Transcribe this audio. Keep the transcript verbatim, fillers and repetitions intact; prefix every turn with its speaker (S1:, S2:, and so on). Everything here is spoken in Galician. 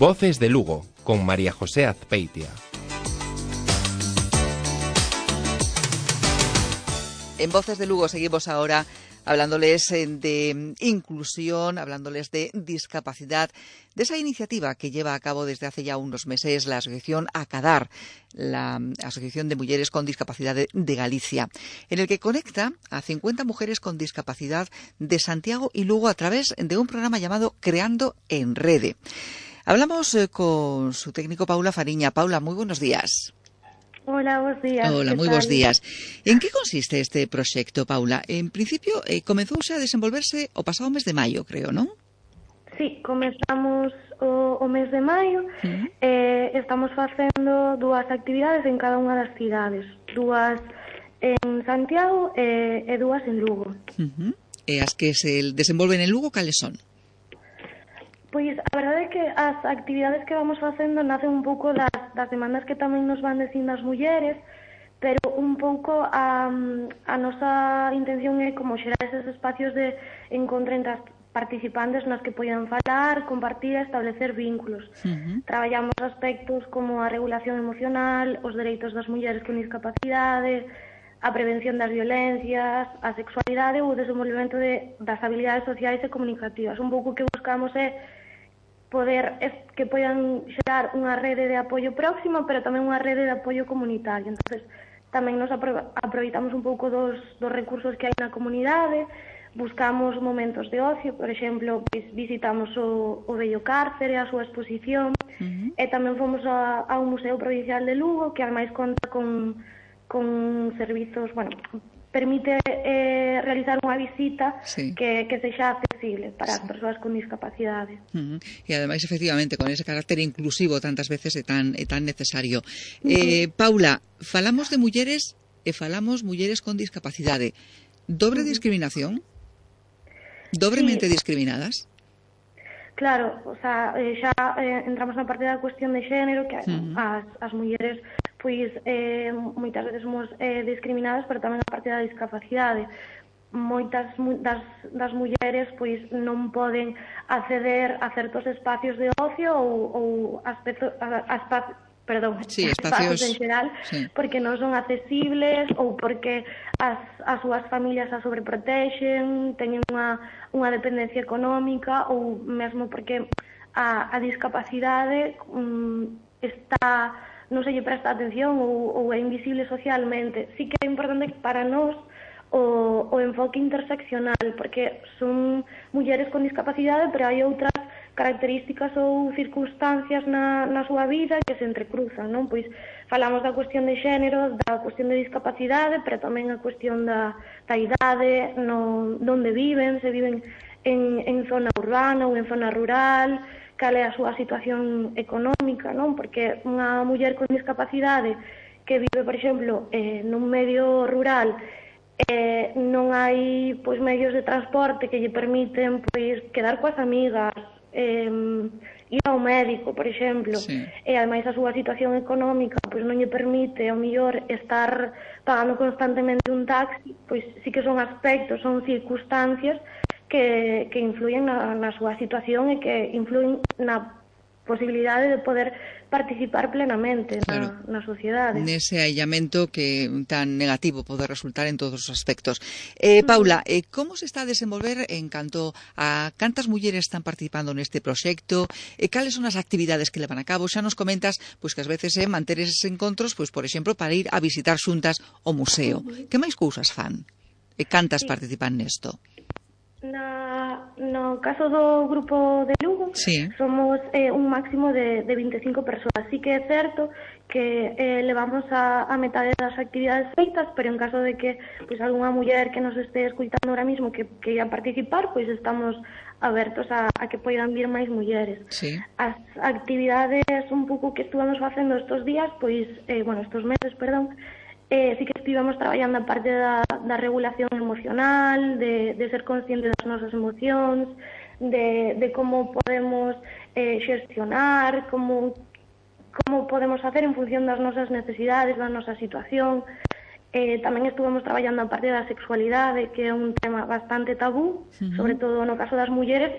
S1: Voces de Lugo, con María José Azpeitia.
S2: En Voces de Lugo seguimos ahora hablándoles de inclusión, hablándoles de discapacidad, de esa iniciativa que lleva a cabo desde hace ya unos meses la Asociación ACADAR, la Asociación de Mujeres con Discapacidad de, de Galicia, en el que conecta a cincuenta mujeres con discapacidad de Santiago y Lugo a través de un programa llamado Creando en Rede. Hablamos eh, con su técnico Paula Fariña. Paula, muy buenos días.
S3: Hola, buenos días.
S2: Hola, moi bons días. En que consiste este proxecto, Paula? En principio, eh, comenzouse a desenvolverse o pasado mes de maio, creo, non?
S3: Sí, comezamos o, o mes de maio. Uh-huh. eh, estamos facendo dúas actividades en cada unha das cidades. Dúas en Santiago e, e dúas en Lugo.
S2: Uh-huh. E as que se desenvolven en Lugo, cales son?
S3: Pois a verdade é que as actividades que vamos facendo nacen un pouco das, das demandas que tamén nos van dicindo as mulleres, pero un pouco a, a nosa intención é como xerar eses espacios de encontro entre as participantes nas que poidan falar, compartir e establecer vínculos. Uh-huh. Traballamos aspectos como a regulación emocional, os dereitos das mulleres con discapacidade, a prevención das violencias, a sexualidade ou o desenvolvemento de, das habilidades sociais e comunicativas. Un pouco que buscamos é poder es, que poidan xerar unha rede de apoio próximo, pero tamén unha rede de apoio comunitario. Entonces, tamén nos apro aproveitamos un pouco dos, dos recursos que hai na comunidade, buscamos momentos de ocio, por exemplo, visitamos o, o Bello Cárcere, a súa exposición, uh-huh. e tamén fomos a, a un Museo Provincial de Lugo, que ademais conta con, con servizos, bueno, permite eh, realizar unha visita sí. que, que sexa accesible para sí. as persoas con discapacidade.
S2: Uh-huh. E ademais, efectivamente, con ese carácter inclusivo tantas veces é tan, é tan necesario. Uh-huh. eh, Paula, falamos de mulleres e falamos mulleres con discapacidade. Dobre uh-huh. discriminación? Dobremente sí. discriminadas?
S3: Claro, o sea, eh, xa eh, entramos na parte da cuestión de xénero, que uh-huh. as, as mulleres pois eh, moitas veces somos eh, discriminadas, pero tamén a parte da discapacidade. Moitas das, das mulleres pois non poden acceder a certos espacios de ocio ou, ou aspecto, a, a espacio, perdón,
S2: sí, espacios,
S3: espacios en xeral, sí. porque non son accesibles ou porque as, as súas familias as sobreprotexen, teñen unha, unha dependencia económica ou mesmo porque a, a discapacidade um, está non se lle presta atención ou, ou é invisible socialmente. Sí que é importante para nós o, o enfoque interseccional, porque son mulleres con discapacidade, pero hai outras características ou circunstancias na, na súa vida que se entrecruzan, non? Pois falamos da cuestión de xénero, da cuestión de discapacidade, pero tamén a cuestión da, da idade, no, onde viven, se viven en, en zona urbana ou en zona rural, cal é a súa situación económica, non? Porque unha muller con discapacidade que vive, por exemplo, eh, nun medio rural, eh, non hai pois medios de transporte que lle permiten pois quedar coas amigas, eh, ir ao médico, por exemplo, sí. e ademais a súa situación económica pois non lle permite ao mellor estar pagando constantemente un taxi, pois sí que son aspectos, son circunstancias que, que influyen na, na súa situación e que influyen na posibilidade de poder participar plenamente claro. na, na sociedade.
S2: Nese aillamento que tan negativo pode resultar en todos os aspectos. Eh, Paula, eh, como se está a desenvolver en canto a cantas mulleres están participando neste proxecto? Eh, cales son as actividades que levan a cabo? Xa nos comentas pois que ás veces é eh, manter eses encontros, pois por exemplo, para ir a visitar xuntas o museo. Que máis cousas fan? E cantas sí. participan nesto?
S3: Na, no caso do grupo de Lugo sí. somos eh, un máximo de, de vinte e cinco persoas. Sí que é certo que eh, levamos a, a metade das actividades feitas, pero en caso de que pues, algunha muller que nos este escuitando ahora mismo que, que ia participar, pois pues, estamos abertos a, a que poidan vir máis mulleres.
S2: Sí.
S3: As actividades un pouco que estuvamos facendo estes días, pois, eh, bueno, estes meses, perdón, Eh, sí que estivemos traballando a parte da, da regulación emocional, de, de ser conscientes das nosas emocións, de, de como podemos eh, xestionar, como, como podemos facer en función das nosas necesidades, da nosa situación. Eh, tamén estuvemos traballando a parte da sexualidade, que é un tema bastante tabú, uh-huh. sobre todo no caso das mulleres, e